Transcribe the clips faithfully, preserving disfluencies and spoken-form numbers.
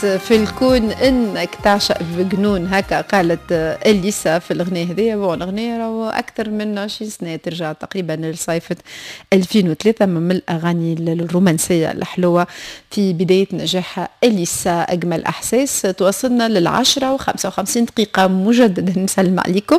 في الكون انك تعشق بجنون، هكا قالت اليسا في الاغنية هذه. bon الاغنية راهو اكثر من عشرين سنة، ترجع تقريبا لصيفه ألفين وثلاثة، من الاغاني الرومانسية الحلوة في بداية نجاحها اليسا. اجمل احساس. توصلنا للعشرة وخمسة وخمسين دقيقة، مجددا نسلم عليكم.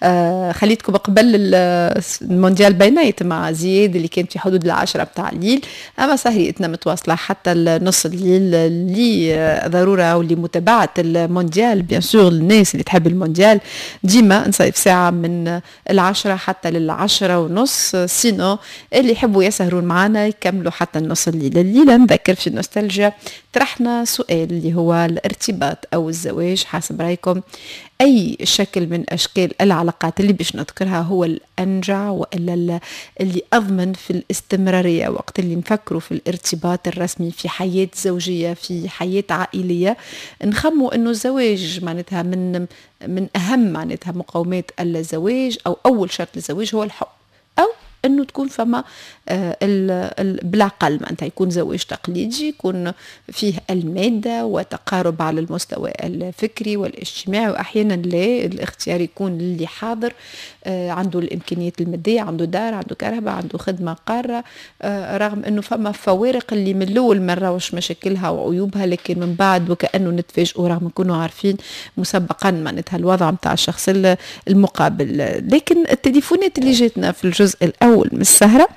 آه خليتكم قبل المونديال بينات مع زياد اللي كان في حدود العشرة بتاع الليل، اما سهريتنا متواصلة حتى نص الليل اللي ضرورة ولمتابعه المونديال. bien sûr الناس اللي تحب المونديال ديما نصيف ساعة من العشرة حتى للعشرة ونص، sinon اللي يحبوا يسهرون معنا يكملوا حتى النص الليل. الليلة نذكر في نوستالجيا طرحنا سؤال اللي هو الارتباط او الزواج، حسب رايكم اي شكل من اشكال العلاقات اللي باش نذكرها هو الانجع والا اللي اضمن في الاستمرارية؟ وقت اللي نفكروا في الارتباط الرسمي، في حياة زوجيه، في حياة عائليه، نخموا انه الزواج معناتها من من اهم معناتها مقومات الزواج او اول شرط للزواج هو الحب، او انه تكون فما آه، بالعقل معناتها يكون زواج تقليدي، يكون فيه المادة وتقارب على المستوى الفكري والاجتماعي، واحيانا لا، الاختيار يكون اللي حاضر آه، عنده الامكانيات الماديه، عنده دار، عنده كرهبة، عنده خدمة قارة، آه، رغم انه فما فوارق اللي من الاول ما نراوش مشاكلها وعيوبها، لكن من بعد وكانه نتفاجئوا رغم نكونوا عارفين مسبقا معناتها الوضع نتاع الشخص المقابل. لكن التليفونات اللي جاتنا في الجزء الاول من السهرة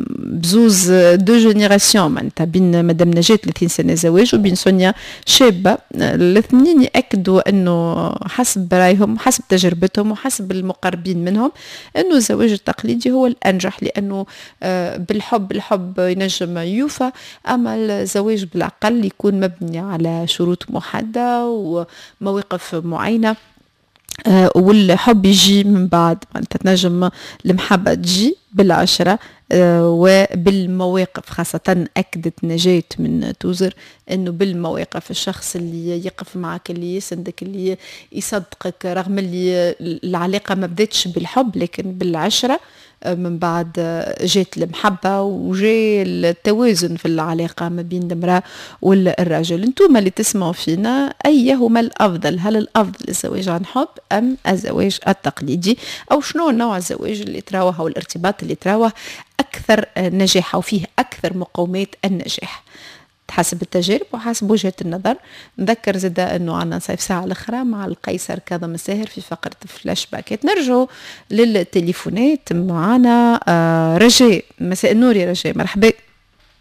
بزوز deux générations، معناتها بين مدام نجاة ثلاثين سنة زواج وبين سونيا شابه، الاثنين ياكدوا انه حسب رايهم، حسب تجربتهم وحسب المقربين منهم، انه الزواج التقليدي هو الانجح، لانه آه، بالحب الحب ينجم يوفى، اما الزواج بالعقل يكون مبني على شروط محددة ومواقف معينة آه، والحب يجي من بعد. معناتها تنجم المحبة تجي بالعشرة آه، وبالمواقف. خاصة أكدت نجاة من توزر أنه بالمواقف، الشخص اللي يقف معك، اللي يسندك، اللي يصدقك، رغم اللي العلاقة ما بدتش بالحب لكن بالعشرة آه، من بعد جات المحبة وجاء التوازن في العلاقة ما بين المرأة والراجل. انتم اللي تسمعوا فينا، أيهما الأفضل؟ هل الأفضل الزواج عن حب أم الزواج التقليدي؟ أو شنو نوع الزواج اللي تراوه أو الارتباط اللي تراوه أكثر نجاح وفيه أكثر مقومات النجاح حسب التجارب وحسب وجهة النظر؟ نذكر زادة أنه عندنا نصيف ساعة الأخرى مع القيصر كاظم الساهر في فقرة فلاش باكات. نرجع للتليفونات، معنا آه، رجاء. مساء النور يا رجاء، مرحبا.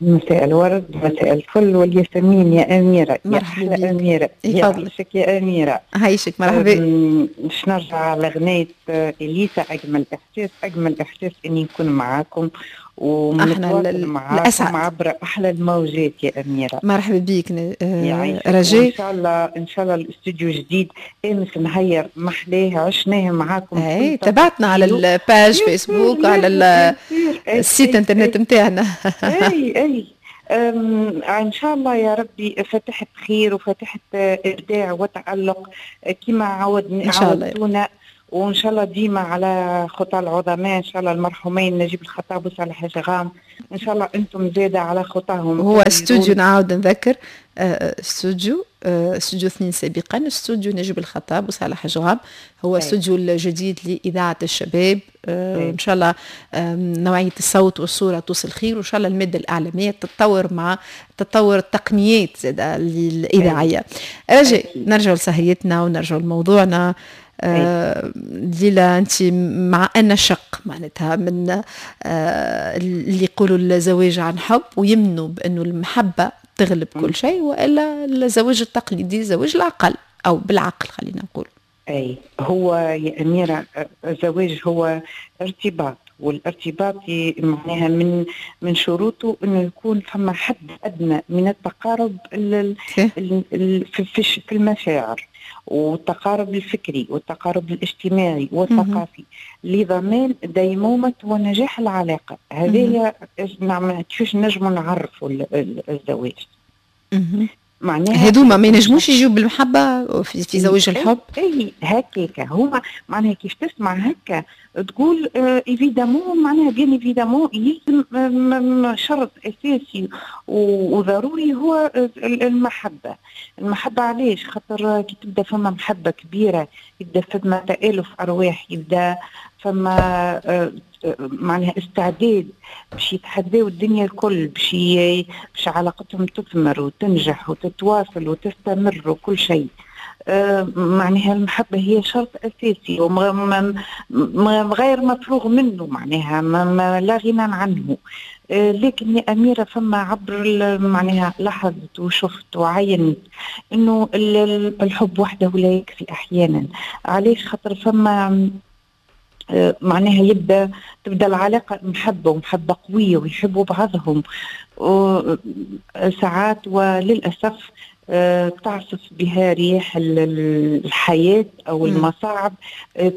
مساء الورد، مساء الفل والياسمين يا أميرة. مرحبا. يا أميرة، يا عيشك يا أميرة. عايشك، مرحبا. باش نرجع على غناية إليسا أجمل إحساس. أجمل إحساس إني نكون معاكم ونتواصل معاكم عبر أحلى الموجات يا أميرة. مرحبا بيك رجاء. إن شاء الله، إن شاء الله الاستوديو جديد امس نهير محلاه، عشناه معاكم. اي، تبعتنا على ال page Facebook، على ال site internet نتاعنا. اي اي، ان شاء الله يا ربي فاتحة خير وفاتحه ابداع وتالق كما عودنا عودتونا، وان شاء الله ديما على خطى العظماء، ان شاء الله المرحومين نجيب الخطاب وصالح جغام، ان شاء الله انتم زاده على خطاهم. هو استوديو، نعاود نذكر، آه، استوديو آه، استوديو اثنين سابقا، استوديو نجيب الخطاب وصالح جغام، هو استوديو الجديد لإذاعة الشباب. آه، إن شاء الله نوعية الصوت والصورة توصل خير، وإن شاء الله المادة الإعلامية تتطور مع تطور التقنيات زاد الإذاعية. رجاء، نرجع لسهريتنا ونرجع لموضوعنا. آه ليلى، انت مع ان شق معناتها من آه اللي يقولوا الزواج عن حب ويمنوا بانه المحبة تغلب كل شيء، والا الزواج التقليدي، زواج العقل او بالعقل خلينا نقول؟ اي، هو يا اميره الزواج هو ارتباط، والارتباط معناها من من شروطه انه يكون فما حد ادنى من التقارب في في المشاعر والتقارب الفكري والتقارب الاجتماعي والثقافي لضمان ديمومة ونجاح العلاقة. هذه نعم كيفاش نجموا نعرفوا الزواج. معناها هذوما ما ينجموش يجيو بالمحبة في, في زواج الحب. اي هكاك هما معناها كيف تسمع هكا تقول évidemment، معناها bien évidemment يلزم شرط اساسي وضروري هو المحبة. المحبة علاش؟ خاطر كي تبدا فما محبة كبيرة يبدا فما تآلف ارواح، يبدا فما آه، معناها استعداد باش يتحداو الدنيا الكل، باش باش علاقتهم تثمر وتنجح وتتواصل وتستمر وكل شيء. آه، معناها المحبة هي شرط أساسي وغير مفروغ منه، معناها ما لا غنى عنه. آه، لكن يا أميرة فما عبر معناها لاحظت وشفت وعينت أنه الحب وحده لا يكفي أحيانا. علاش؟ خاطر فما آه، معناها يبدا تبدا العلاقة محبة ومحبه قوية ويحبوا بعضهم ساعات، وللاسف آه، تعصف بها رياح الحياة او المصاعب، آه،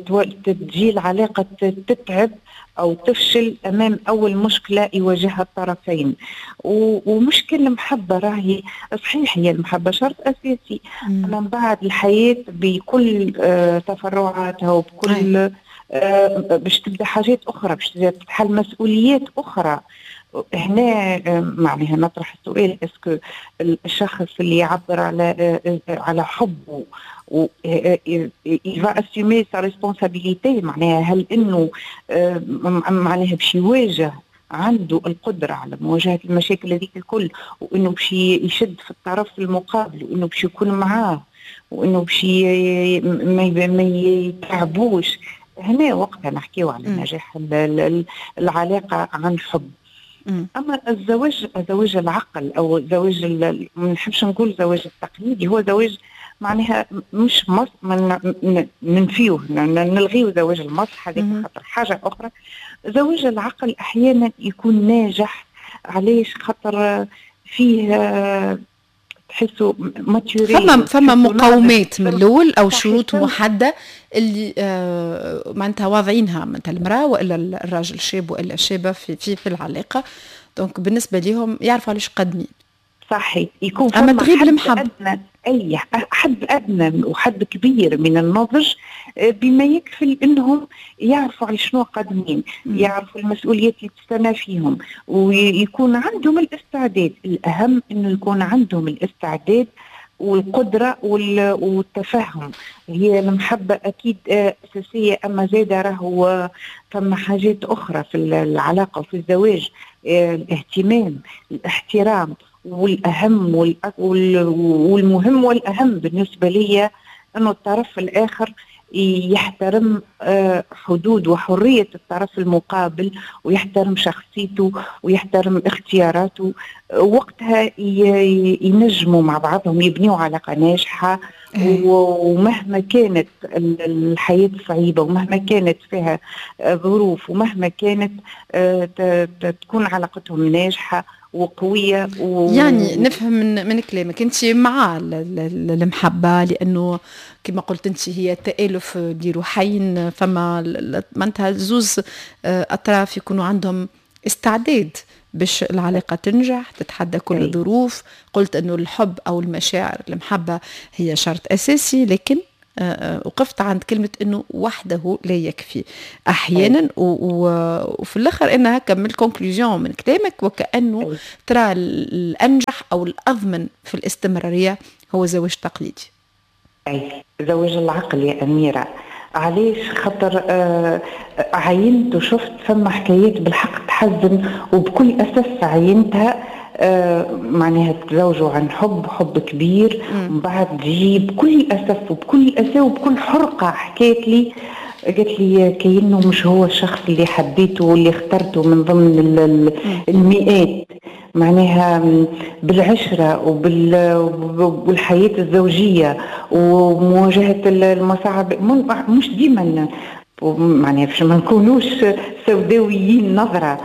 تجي العلاقة تتعب او تفشل امام اول مشكلة يواجهها الطرفين. ومش كل المحبة راهي صحيح، هي المحبة شرط اساسي، اما من بعد الحياة بكل تفرعاتها وبكل آه، باش تبدا حاجات اخرى، باش تتحل مسؤوليات اخرى. هنا آه، معناها نطرح السؤال، est-ce que الشخص اللي يعبر على آه، على حبه و il va assumer sa responsabilité، معناها هل انه معناها باش يواجه، عنده القدرة على مواجهة المشاكل هذيك الكل، وانه باش يشد في الطرف المقابل، وانه باش يكون معاه، وانه باش ما يتعبوش؟ هنا وقتها نحكيو على نجاح العلاقة عن حب. اما الزواج، زواج العقل او زواج، ما نحبش نقول زواج التقليدي، هو زواج معناها مش مص ننفيوه، نلغيو زواج المصلحة هذيك خاطر حاجة اخرى. زواج العقل احيانا يكون ناجح. علاش؟ خاطر فيه تحسوا maturité. فما فما مقومات من الاول او شروط محددة اللي آه معناتها واضعينها معناتها المراة والا الراجل، الشاب والا الشابة في في, في العلاقه، donc بالنسبة لهم يعرفوا علاش قادمين. صحيح، يكون اما تغيب المحبه. أدنى، اي حد ادنى وحد كبير من النضج آه، بما يكفي انهم يعرفوا على شنو قادمين، يعرفوا المسؤوليات اللي تستنى فيهم، ويكون عندهم الاستعداد. الاهم انه يكون عندهم الاستعداد والقدرة والتفهم. هي المحبة أكيد آه، أساسية، أما زادة راهو فما حاجات أخرى في العلاقة وفي الزواج، آه، الاهتمام، الاحترام، والأهم والمهم والأهم بالنسبة لي أنه الطرف الآخر يحترم آه، حدود وحرية الطرف المقابل، ويحترم شخصيته ويحترم اختياراته. وقتها ينجموا مع بعضهم يبنيوا علاقة ناجحة، إيه. ومهما كانت الحياة صعيبة، ومهما كانت فيها ظروف، ومهما كانت آه، تكون علاقتهم ناجحة وقوية. و... يعني نفهم من, من كلامك انت مع المحبة، لانه كما قلت انت هي تآلف لروحين، فما معناتها زوز آه، اطراف يكونوا عندهم استعداد باش العلاقة تنجح، تتحدى كل الظروف. قلت أنه الحب أو المشاعر، المحبة هي شرط أساسي، لكن آه، آه، وقفت عند كلمة أنه وحده لا يكفي أحيانا. وفي الآخر أنها هكا من ال conclusion من كلامك وكأنه ترى الأنجح أو الأضمن في الاستمرارية هو زواج تقليدي. أي، زواج العقل يا أميرة. علاش؟ خاطر آه عينت وشفت فما حكايات بالحق تحزن، وبكل اسف عينتها، آه معناها تزوجوا عن حب، حب كبير، ومن بعد تجي بكل اسف وبكل اسى وبكل حرقه حكيت لي، قالت لي كأنه مش هو الشخص اللي حبيته واللي اخترته من ضمن المئات. معناها بالعشرة وبالحياة الزوجية ومواجهة المصاعب، مش ديما معناها باش ما نكونوش سوداويين نظرة،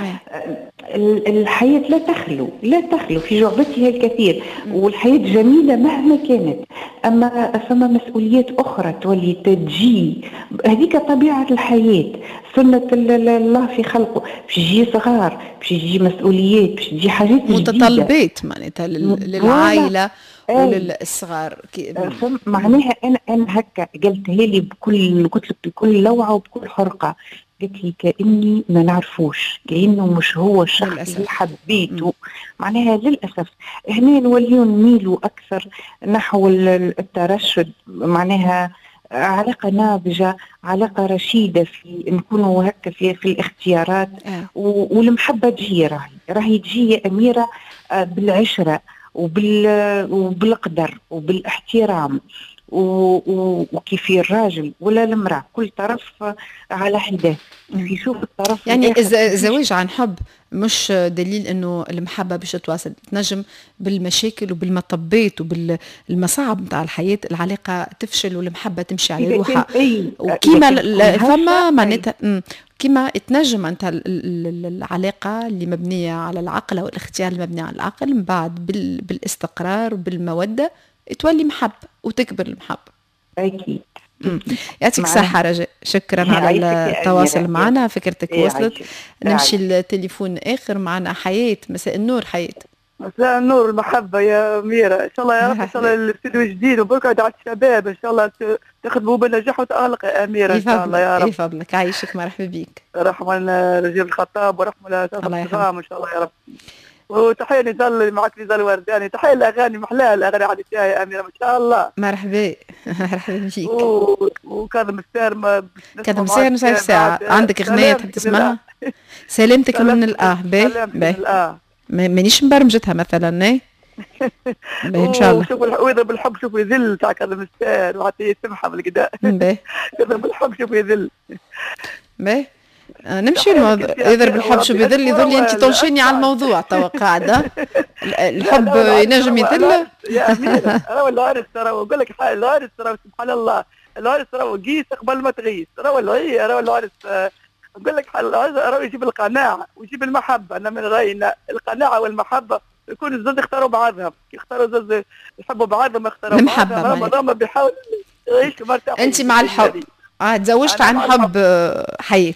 الحياة لا تخلو لا تخلو في جعبتها الكثير، والحياة جميلة مهما كانت، أما فما مسؤوليات أخرى تولي تجي، هذيك طبيعة الحياة، سنة الله في خلقه، باش تجي صغار، باش تجي مسؤوليات، باش تجي حاجات متطلبات معناتها للعائلة. وللصغار. معناها انا انا هكا قلتها لي بكل، قلت لك بكل لوعة وبكل حرقه، قلت لي كاني ما نعرفوش، كانه مش هو الشخص اللي حبيته. معناها للاسف هنا نوليو نميلوا اكثر نحو الترشد، معناها علاقة ناضجة، علاقة رشيدة، في نكونوا هكا في, في الاختيارات. آه. والمحبة تجي، راهي راهي تجي يا أميرة بالعشرة وبال وبالقدر وبالاحترام، وكيف الراجل ولا المرأة كل طرف على حده يشوف الطرف. يعني الزواج عن حب مش دليل انه المحبة باش تتواصل، تنجم بالمشاكل وبالمطبات وبالمصاعب نتاع الحياة العلاقة تفشل والمحبة تمشي على روحها. وكيما فما معناتها كما تنجم انت العلاقة اللي مبنية على العقل او الاختيار المبني على العقل من بعد بالاستقرار وبالموده تولي محبة وتكبر المحبة. اكيد. يعطيك الصحة رجاء، شكرا على التواصل معنا، فكرتك وصلت. نمشي التليفون آخر، معنا حياة. مساء النور حياة. مساء النور المحبة يا أميرة، إن شاء الله يا رب، إن شاء الله الاستوديو جديد وبركة على الشباب، إن شاء الله تخدموا بالنجاح وتألق يا أميرة إن شاء الله يا رب. يفضلك، عايشك، مرحبا بك. رحمة رجيب الخطاب ورحمة الله إن شاء الله يا رب. وتحية نزال معك نزال ورداني، تحية الأغاني محلاها الأغاني عادتها يا أميرة ما شاء الله. مرحبا مرحبا بيك. و... وكاظم الساهر ما كاظم الساهر مش عارف ساعة عندك أغنية تحب تسمعها؟ سلامتك من الآه. باهي باهي، مانيش مبرمجتها مثلا. ايه باهي ان شاء الله. شوف ويضرب الحب شوف يذل تاع كاظم الساهر وحتى يسمحها بالكدا. باهي يضرب الحب شوف يذل. باهي نمشي الموضوع، يضرب الحب شو بيذل، يذل انت تنشيني على الموضوع توا قاعدة. الحب ينجم يذل يا اميره. راهو العرس ترى نقول لك حاجة، العرس ترى سبحان الله، العرس راهو قيس قبل ما تغيس، راهو راهو العرس نقول لك راهو يجيب القناعة ويجيب المحبة. انا من رايي القناعة والمحبة يكون الزوج يختاروا بعضهم، يختاروا الزوج يحبوا بعضهم، يختاروا بعضهم، راه بيحاول يعيشوا مرتاحين. انت مع الحب؟ اه تزوجت عن حب حياة؟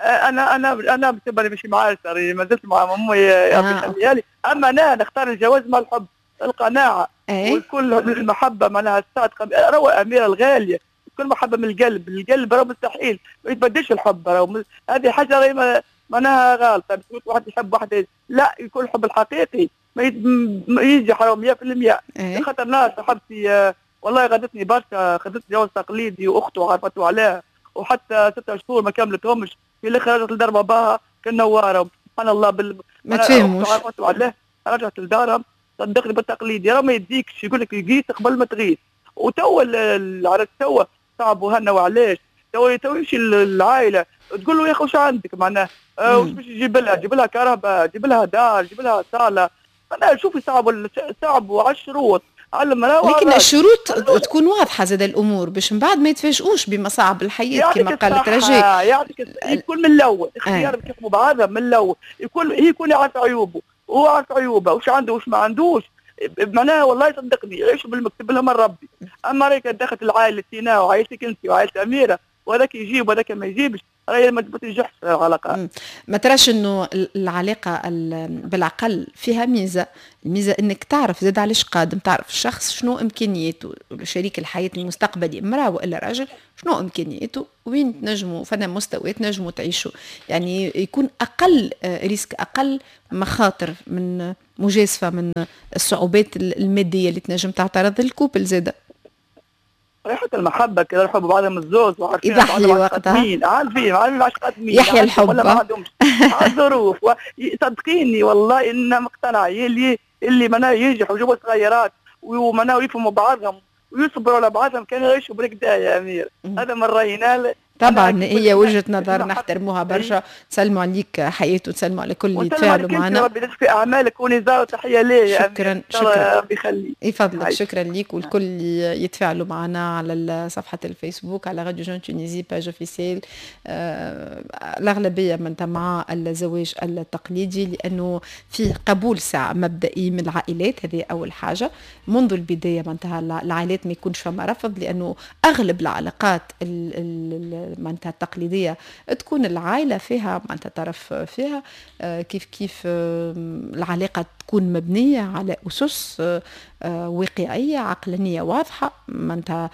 انا انا انا بالنسبة لي مش معايا، ما زلت مع امي يا ربي يخليها لي. اما انا نختار الجواز مع الحب، القناعة. أيه؟ وكل المحبة معناها الصادقة. روى اميره الغالية كل محبة من القلب، القلب راه مستحيل ما يتبدلش الحب، راه هذه حاجة راهي معناها غالطه. باش واحد يحب واحد لا، يكون الحب الحقيقي ما ينجح راه مية بالمية. أيه؟ خاطر ناس صاحبتي والله غدتني برشا، خذت جواز تقليدي واخته عرفته عليها، وحتى ستة شهور ما كملتهمش، في الاخر رجعت لدار باباها كالنواره. سبحان الله بال... ما تفهموش، عرفت عليه رجعت لدارها. صدقني بالتقليدي راه ما يديكش، يقول لك يقيس قبل ما تغيس. وتوا العرس توا صعب وهنا، وعلاش توا تو يمشي العائلة تقول له يا اخي واش عندك معناه، أه واش باش تجيب لها؟ جيب لها كهرباء، جيب لها دار، جيب لها صاله. معناها شوفي صعب صعب على الشروط. لكن الشروط تكون واضحة زاد الامور باش من بعد ما يتفاجئوش بمصاعب الحياة كما قالت رجاء. يعطيك يكون من الاول اختيار باش يحكموا بعضهم من الاول، يكون يكون يعرف عيوبه وهو عارف عيوبه، واش عنده واش ما عندوش. معناها والله صدقني يعيشوا بالمكتوب لهم من ربي. اما راهي دخلت العائلة تينا وعائلتك انت وعائلة اميره، وهذاك يجيب وهذاك ما يجيبش، راهي ما تنجحش العلاقة. ما تراش انه العلاقة بالعقل فيها ميزة؟ الميزة انك تعرف زاد علاش قادم، تعرف الشخص شنو امكانياته، شريك الحياة المستقبلي امراة والا راجل شنو امكانياته، وين تنجموا فنا مستوى تنجموا تعيشوا، يعني يكون اقل risque، اقل مخاطر من مجازفة من الصعوبات المادية اللي تنجم تعترض ال couple زاده. ريحة المحبة كده يحبوا بعضهم الزوز وعارفين يضحي وقتها، عارفين عارفين عارفين قادمين، يحيى الحب ولا ما عندهمش على الظروف. صدقيني والله إن مقتنع اللي اللي معناها ينجحوا ويجيبوا صغيرات ومعناها يفهموا بعضهم ويصبروا على بعضهم كانوا يعيشوا بركدا يا أمير. هذا من رأينا. طبعا هي وجهة نظر نحترموها برشا. تسلموا عليك حياة وتسلموا على كل اللي تفاعلوا معنا. ربي يجزيك في اعمالك ونزار وتحية ليه. شكرا شكرا ربي يخليك يفضلك. شكرا ليك والكل اللي يتفاعلوا معنا على صفحة الفيسبوك على راديو Jeune Tunisie page officielle. آه الاغلبية من مع الزواج التقليدي لانه فيه قبول ساعة مبدئي من العائلات، هذه اول حاجة منذ البداية معناتها العائلات ما يكونش فما رفض، لانه اغلب العلاقات ال ال معناتها التقليدية تكون العائلة فيها معناتها طرف فيها، كيف كيف العلاقة تكون مبنية على اسس واقعية عقلانية واضحه، معناتها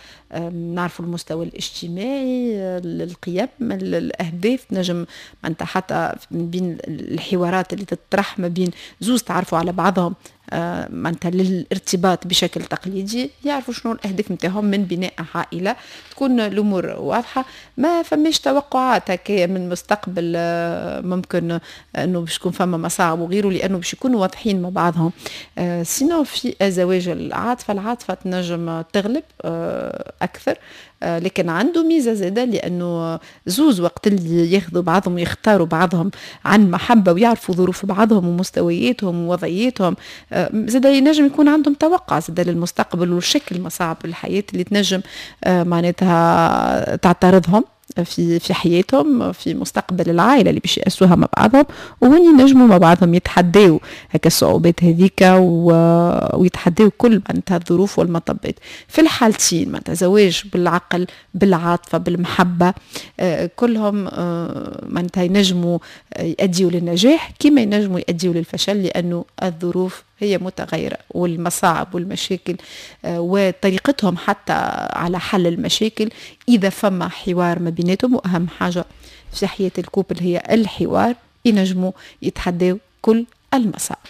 نعرفوا المستوى الاجتماعي، القيم، الاهداف. نجم معناتها حتى من بين الحوارات اللي تطرح ما بين زوز تعرفوا على بعضهم آه، معناتها للارتباط بشكل تقليدي، يعرفوا شنو الاهداف نتاعهم من بناء عائله، تكون الامور واضحه، ما فماش توقعات هكايا من المستقبل آه، ممكن انه باش يكون فما مصاعب وغيره، لانه باش يكونوا واضحين مع بعضهم. آه، sinon في زواج العاطفه، العاطفة تنجم تغلب اكثر، آه، لكن عنده ميزة زاده، لانه زوز وقت اللي ياخذوا بعضهم ويختاروا بعضهم عن محبة ويعرفوا ظروف بعضهم ومستوياتهم ووضعياتهم، آه، زاده ينجم يكون عندهم توقع زاده للمستقبل وشكل مصاعب الحياة اللي تنجم آه، معناتها تعترضهم في في حياتهم، في مستقبل العائلة اللي باش يأسسوها مع بعضهم، وهون ينجموا مع بعضهم يتحداو هكا الصعوبات هذيك ويتحداو كل معناتها الظروف والمطبات. في الحالتين، معناتها زواج بالعقل، بالعاطفه، بالمحبه، آه، كلهم آه، معناتها ينجموا يؤديوا للنجاح كما ينجموا يؤديوا للفشل، لانه الظروف هي متغيرة والمصاعب والمشاكل آه، وطريقتهم حتى على حل المشاكل، إذا فما حوار ما بيناتهم، وأهم حاجة في حياة ال couple هي الحوار، ينجموا يتحداو كل المصاعب.